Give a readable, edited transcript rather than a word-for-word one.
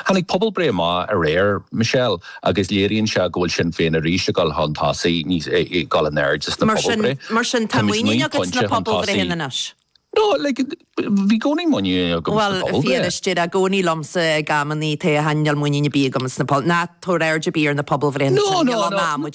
Tháinig pobalbhreith amach aréir, Michelle, agus léiríonn sé go bhfuil Sinn Féin arís ag dul chun tosaigh, níos, ag dul in airde sna pobalbhreith. Mar sin, tá muinín agat sna pobalbhreitheanna anois? No, like, bhí i gcónaí muinín agam sna pobalbhreith. Bhuel, fíor is deir i gcónaí liomsa ag amannaí, tá, níl muinín ar bith agam sna, ná tabhair aird ar bith ar na pobalbhreitheanna sin, níl ann ná muid.